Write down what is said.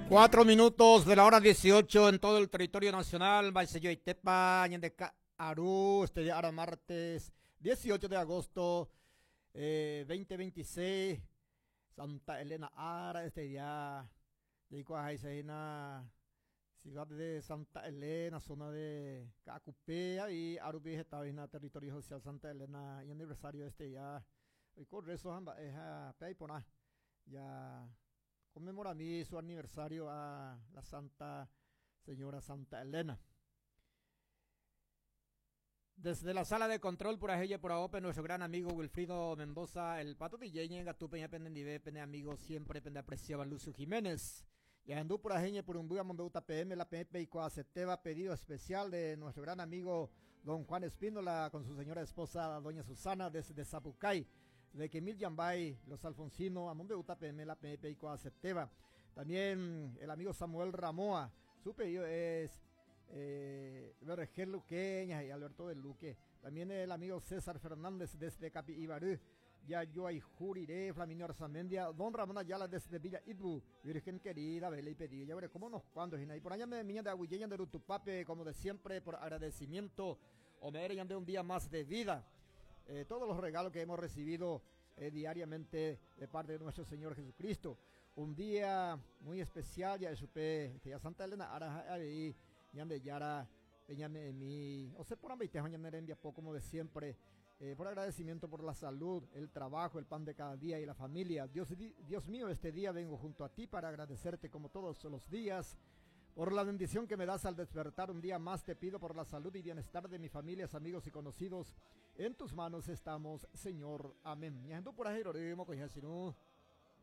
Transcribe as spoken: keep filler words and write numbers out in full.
Cuatro minutos de la hora dieciocho en todo el territorio nacional. Tepa, Aru, este día ahora martes dieciocho de agosto eh, dos mil veintiséis. Santa Elena Ara, este día. Ciudad de Santa Elena, zona de Caacupé, y Arubi está en territorio social Santa Elena, y aniversario este día. Hoy con eso, ya conmemora mi su aniversario a la Santa Señora Santa Elena. Desde la sala de control por ella por A O P, nuestro gran amigo Wilfrido Mendoza, el pato D J, Gatupe, Pendendive, pene amigo siempre, pende apreciaba Lucio Jiménez. Y andú por ajeñe por un P M, la P P y Coaceteba, pedido especial de nuestro gran amigo don Juan Espíndola con su señora esposa doña Susana desde Zapucay, de Kemil Yambay, los Alfonsino, Amombe P M, la P P y Coaceteba. También el amigo Samuel Ramoa, su pedido es eh, Vergel Luqueña y Alberto del Luque. También el amigo César Fernández desde Capi Ibarú. Ya yo Juriré, Flaminio Arzamendia, Don Ramón Ayala desde Villa Itbu, Virgen querida, vele y pedido. Ya veré cómo nos cuando, y por allá me miña de Aguilleña de Rutupape, como de siempre, por agradecimiento, o me de un día más de vida. Eh, todos los regalos que hemos recibido eh, diariamente de parte de nuestro Señor Jesucristo. Un día muy especial, ya supe, que ya Santa Elena, ara, ahí, de Yara, Peñame mi, o sea, por como de siempre, eh, por agradecimiento por la salud, el trabajo, el pan de cada día y la familia. Dios, Dios mío, este día vengo junto a ti para agradecerte como todos los días por la bendición que me das al despertar un día más. Te pido por la salud y bienestar de mis familias, amigos y conocidos. En tus manos estamos, Señor. Amén. Por ahí.